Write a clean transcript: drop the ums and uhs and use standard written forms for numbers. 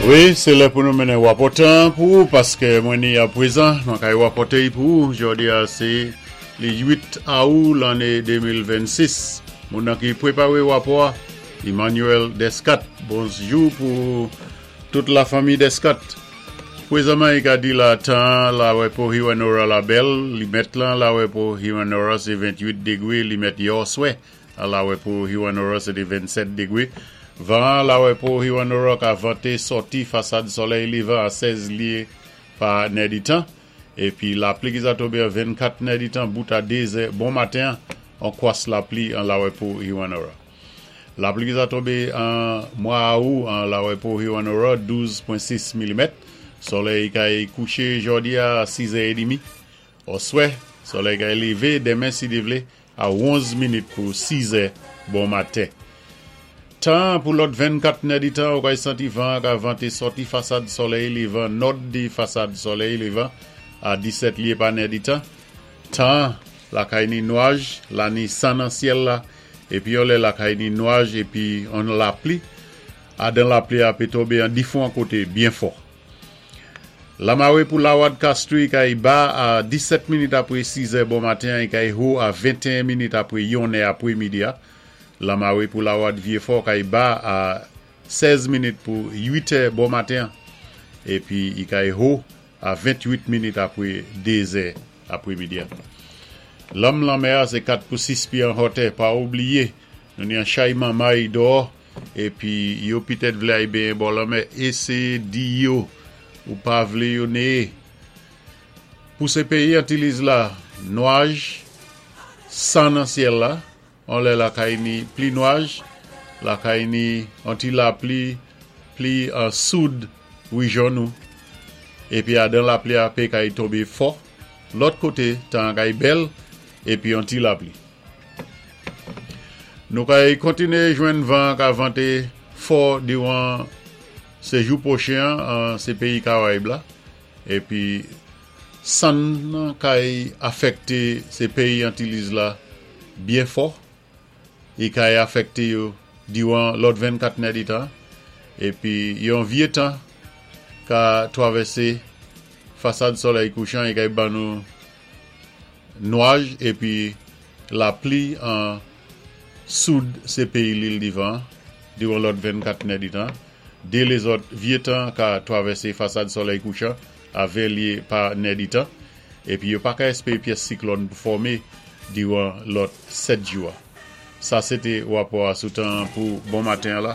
Wi, sé lè pou nou mennen wapò tan pou ou paské mwen ni apwézan mwen kay wapòté-y pou ou. Jòdi a sé li 8 Awou lanné 2026. Moun nan ki pwépawé wapò a, Emmanuel Descat. Bonjou pou tout lafanmi Descat. Pwézanman i ka di la tan la wè pou Hewanorra la bèl, li mèt lan la wè pou Hewanorra sé 28 dégwé, li mèt yòswè a la wè pou Hewanorra sé té 27 dégwé. Van an la wè pou Hewanorra ka vanté sòti fasad sòlèy lévan a 16 lyé pa nèditan, épi lapli ki za tonbé an 24 nèditan bout a 2 zè bon maten an kwas lapli an la wè pou Hewanorra. Lapli ki za tonbé an mwa Awou an la wè pou Hewanorra 12.6 milimèt. Sòlèy kay kouché jòdi a 6 zè édmi òswè. Sòlèy kay lévé denmen si Dye vlé a 11 minit pou 6 zè bon maten. Tan pou lòt 24 nèditan ou kay santi van an ka vante sòti fasad sòlèy lévan nòd di fasad sòlèy lévan a 17 lyé pa nèditan. Tan lakay ni nwaj la ni san nan syèl la épi yon lè lakay ni nwaj épi on lapli adan lapli a pé tonbé an difwan koté byen fò. Lamawé pou Lawad Castries kay ba a 17 minit apwé 6 zè bon maten an i kay ho a 21 minit apwé yon nè apwé midi a. Lamawé pou Lawad Vyefò kay ba a 16 minit pou 8 è bon maten an épi i kay ho a 28 minit apwé 2 zè apwé midi a. Lanm lanmè a sé 4 pou 6 pyé an hòtè. Pa oubliyé nou ni an chay manmay dòò épi yo pitèt vlé ay benyen bò lanmè. Éséyé di yo ou pa vlé yo néyé. Pou sé péyi Antiliz la, nwaj, san nan syèl la, On lè lakay ni pli nwaj, lakay ni on ti lapli pli an soud rijyon nou, épi adan lapli a pé kay tonbé fò, lòt koté tan an kay bèl épi on ti lapli. Nou kay kontiné jwenn van ka vanté fò diwan sé jou pwochen an an sé péyi Karayib la, épi Sann nan kay afèkte se peyi Antiliz la byen fò e kay afèkte yo diwan lòt 24 nèditan epi yon vye tan ka twavèse fasad sòlèy kouchan e kay ban nou nwaj epi lapli an soud se peyi Lil Divan diwan lòt 24 nèditan. De lézòt vye tan ka twavèsé fasad sòlèy kouchan a 20 lye pa nèditan, épi yo pa ka èspéré pyès siklòn pou fòmé diran lòt 7 jou a. Sa sé té wapò a sou tan an pou bon maten an la.